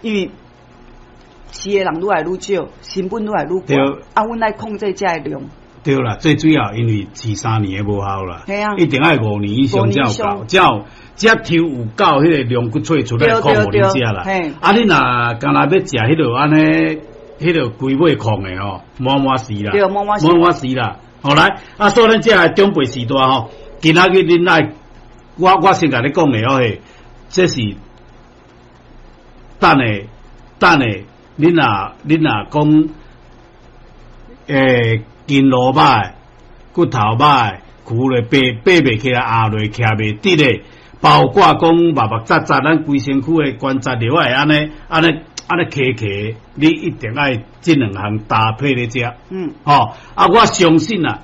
因為飼的人愈來愈少，成本愈來愈懸，啊，阮愛控制這个量。對啦，最主要因為飼3年的無效啦，一定愛五年以上才有夠，才有才抽有夠彼个龍骨萃出來控予恁食啦。啊，你若干焦欲食彼落按呢，彼落規尾控的吼，滿滿死啦，滿滿死啦。好來，啊，所以咱這个長輩時代吼，今仔日恁愛，我先共你講的哦嘿，這是等下等下，恁若講，筋路歹、骨頭歹、跍咧爬爬袂起來、壓落徛袂直的，包括講目目扎扎，咱規身軀的關節落來按呢按呢按呢卡卡，你一定愛這兩項搭配咧食。吼，啊，我相信啊，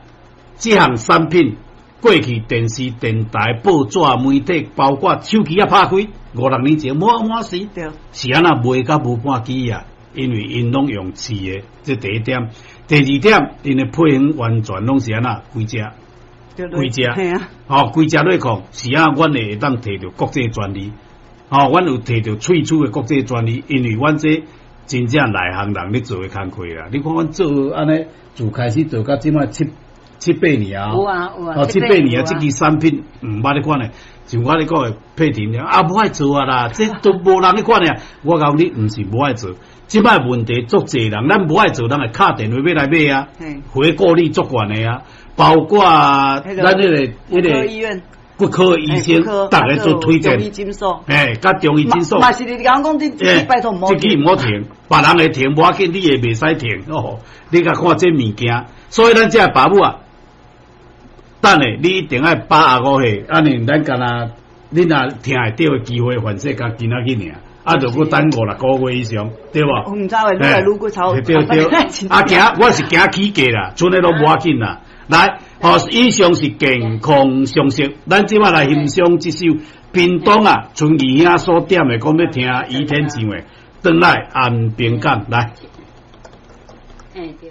這項產品過去電視、電台、報紙、媒體，包括手機仔拍開，五六年前滿滿是，是按怎賣甲無半支啊？因為𪜶攏用飼的，這第一點。第二點，𪜶的配方完全攏是按怎規隻，規隻，吼，規隻來講，是按怎阮會當提著國際專利，吼，阮有提著萃取的國際專利，因為阮這真正內行人咧做的工課啦。你看阮做按呢，自開始做到這擺七八年啊，有啊有啊，哦，七八年啊，這支產品毋捌咧款的，像我咧講的配甜了啊，無愛做啊啦，這都無人咧款的。我講你毋是無愛做。這擺問題足濟人，咱無愛做，人會敲電話欲來買啊，回購率足懸的啊，包括咱彼個骨科醫生，逐家做推薦，哎，佮中醫診所，嘛是你講講這拜託毋好，這支毋好停，別人會停，無要緊，你會袂使停哦。你共看這物件，所以咱這爸母啊，等下你一定愛85歲，按呢咱干焦，你若聽會著的機會，反正佮今仔日爾。啊，就閣等五六個月以上，對無？毋知會愈來愈骨頭。對對，啊，驚我是驚起價啦，賰的攏無要緊啦。來，吼，以上是健康常識，咱這擺來欣賞這首屏東啊，春義兄所點的，講欲聽雨天唱的，轉來安平港來。欸，對。